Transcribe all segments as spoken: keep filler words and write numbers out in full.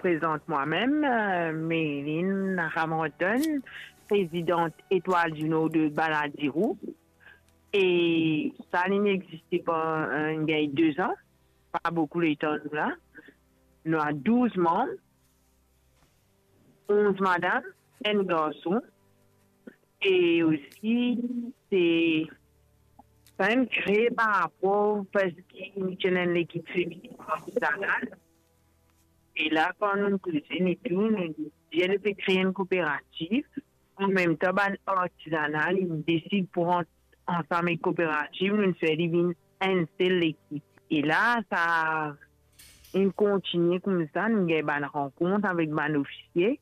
prezant mwa mem, eh, Marilyn Ramranton, prezidant Etoile du Nord de Baladurou. E sa, li'nn existe pandan, eh, gagn de zan, pa boukou letan nou la. Nou a douz manm, onz madam, enn garson. E osi, se, sa inn kre par rapor parski nou ti ena enn lekip feminin artizanal. E la, kan nou koze, nou tou, nou dir nou pe kre enn kooperativ, anmemtan bann artizanal, nou desid pran ansam ek kooperativ, nou fer li vinn enn sel lekip. E la, sa inn kontigne koumsa, nou gagn bann rankont avek bann ofisie.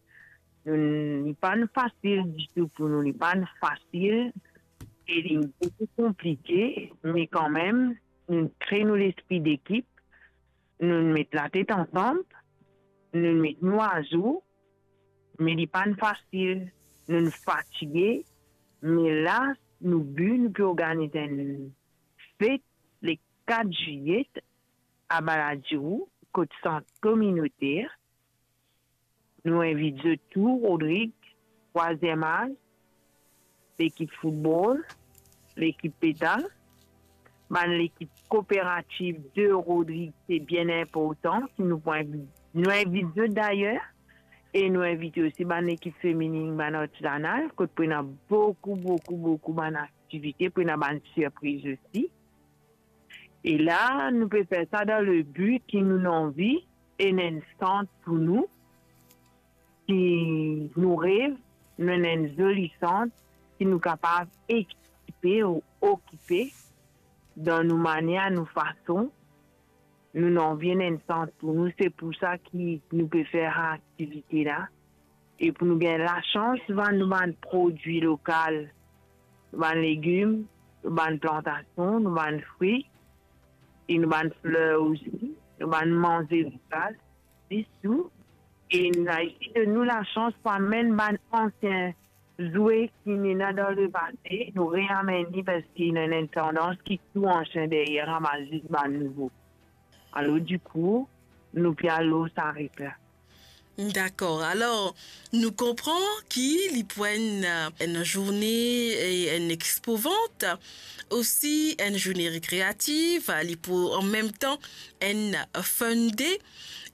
Nou, li pa'nn fasil ditou pou nou, li pa'nn fasil, e li boukou konplike, me kanmem, nou kre nou lespri dekip, nou met latet ansam, nou met nou azour, me li pa'nn fasil, nou fatige, me la, nou bi, nou pe organiz enn fet le kat zilie a Baladurou, kot sant kominoter. Nou invit zot tou, Rodrig, Trwaziem Az, lekip foutbol, lekip petal, bann lekip kooperativ de Rodrig, se bien inportan, ki nou pou invi-, nou invit zot dayer, e nou invit osi bann lekip feminin, bann artizanal, kot pou ena boukou, boukou, boukou bann aktivite, pou ena bann sirpriz osi. E la, nou pe fer sa dan le bi ki nou anvi ena enn sant pou nou, ki nou rev, nou ena enn zoli sant ki nou kapav ekipe ou okipe dan nou manier, nou fason. Nou anvi ena enn sant pou nou, se pou sa ki nou pe fer aktivite la. E pou nou gagn lasans vann nou bann prodwi lokal, nou bann legim, nou bann plantasion, nou bann fri, e nou bann fler osi, nou bann manze lokal, ditou. E nou ena osi de nou lasans pou amenn bann ansien zwer ki ena dan lepase, nou reamenn li, parski ena enn tandans ki tou ansien deryer, ramas zis bann nouvo. Alor, dikou, nou pe al lor sa rit la. Dakor. Alor, nou konpran ki li pou enn, enn zourne, e enn expo vant, osi enn zourne rekreativ, li pou anmemtan enn fun day,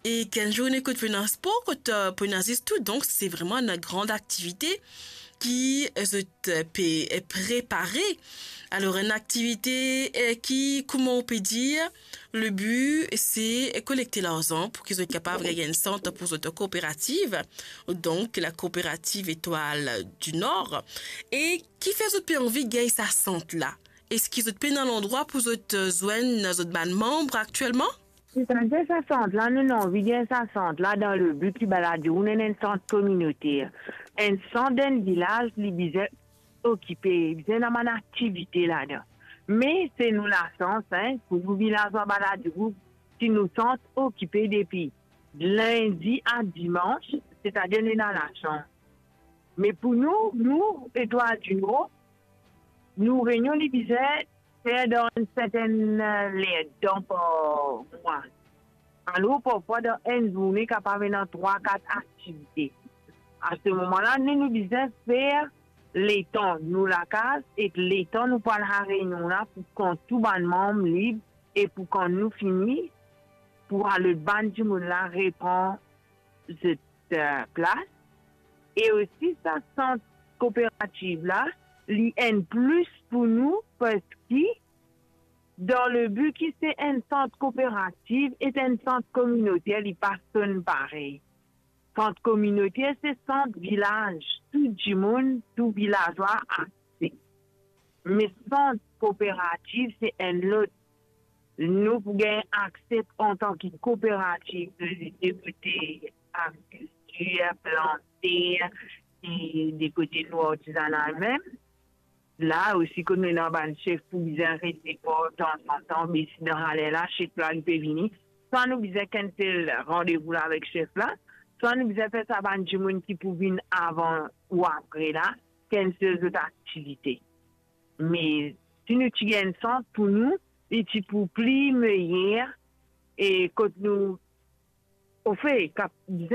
e ki enn zourne kot pou ena spor, kot, eh, pou ena zis tou. Donk, se vreman enn gran aktivite ki zot pe prepare. Alor, enn aktivite, eh, ki, kouma ou pe dir, le bi, se kolekte larzan pou ki zot kapav gagn enn sant pou zot kooperativ, donk la kooperativ Etoile du Nord. E kifer zot pe anvi gagn sa sant la? Eski zot pena landrwa pou zot, eh, zwenn zot bann manm aktielman? Setadir sa sant la, nou, nou anvi gagn sa sant la dan le bi ki Baladurou ena enn sant kominoter. Enn sant dan enn vilaz, li bizin okipe, bizin ena bann aktivite ladan. Me se nou lasans, en, pou nou vilazwa Baladurou, ki nou sant okipe depi lindi a dimans, setadir nou ena lasans. Me pou nou, nou, Etoile du Nord, nou reynion li bizin fer dan enn sertenn, eh, lertan par mwa. Alor, parfwa, dan enn zourne, kapav ena trwa, kat aktivite. A se moman la, nou, nou bizin fer letan nou lakaz ek letan nou pou al reynion la, pou kan tou bann manm lib e pou kan nou fini, pou al lot bann dimoun la repran zot, eh, plas. E osi, sa sant kooperativ la, li enn plis pou nou, parski dan le bi ki se enn sant kooperativ e enn sant kominoter, li pa sonn parey. Sant kominoter se sant vilaz, tou dimoun, tou vilazwa akse. Me sant kooperativ se enn lot. Nou pou gagn akse antan ki kooperativ de, de kote agrikiltir, plante, e de kote nou artizanal mem. La osi, kot nou ena bann sef pou bizin rete par tanzantan, be si dan laler la, sef la, li pe vini, swa nou bizin cancel randevou la avek sef la, swa nou bizin fer sa bann dimoun ki pou vinn avan ou apre la, cancel zot aktivite. Me si nou ti gagn sant pou nou, li ti pou pli meyer, e kot nou ofe, kap bizin